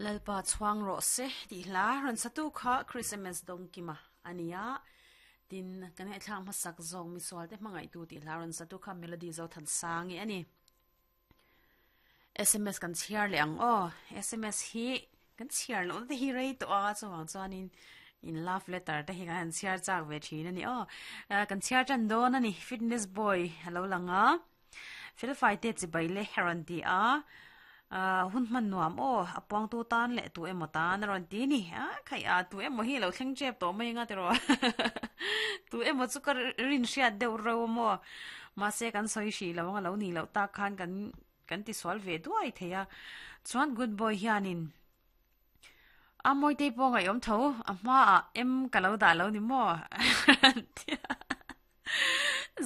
Lalpa chhuang rawh se tih hla rawn satu kha Christmas dawngkima a ni a, tin kan ngaihthlak hmasak zawk misual te hmangaihtu tih hla rawn satu kha Melody Zothansangi a ni. Sms kan chhiar leh ang aw, sms hi kan chhiar loh na te hi rei tawh a chuvang chuanin in love letter te hi kan han chhiar chak ve thin a ni aw. Kan chhiar tan dawn a ni fitness boy a lo lang a. Felfai te chibai le a rawn ti a, hun hman nuam aw, a puangtu tan leh tu emaw tan a rawn ti ni. A khaih a, tu emaw hi a lo thleng tep tawh mai anga tiraw. Tu emaw chu ka rin hriat deuh reuh a maw. Mahse kan sawi hrih lo anga lo nih loh tak khan kan kan tisual ve duai thei a. Chuan good boy hianin a Mawitei pawh ngaihawm tho, a hmaah em ka lo dah lo ni maw?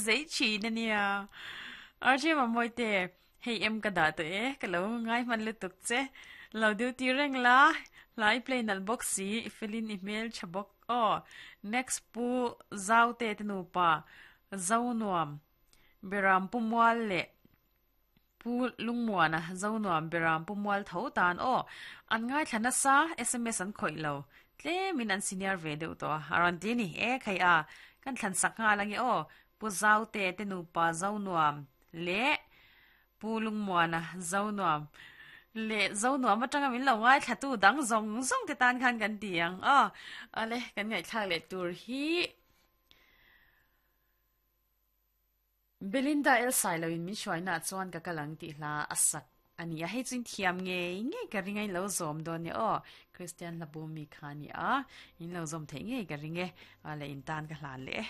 Zei thin a nia. RJ Mamawite, hei em ka dah tawh e, ka lo ngai hman lutuk che. Lo duty reng la, hla i play nalh bawk si, i felin i hmel tha bawk aw. Next Pu Zaute te nupa, Zonuam, Beram Pu Mual leh Pu Lungmuana, Zonuam, Beram Pu Mual tho tan aw. An ngaithla nasa, sms an khawih lo. Tlemin an senior ve deuh tawh a, a rawn ti a ni. E khai a, kan thlan sak nghal ange aw. Pu Zaute te nupa Zonuam leh Pu Lungmuana, Zonuam leh Zonuam atanga min lo ngaithlatu dang zawng zawng te tan khan kan ti ang aw. Awle, kan ngaihthlak leh tur hi. Belinda El Sailo in min hruaina ah chuan ka kal ang tih hla a sak a ni a, hei chu in thiam ngei ngei ka ring a, in lo zawm dawn nia aw, Christian hla bum mi kha a ni a, in lo zawm theih ngei ka ring e, a leh in tan ka hlan leh e.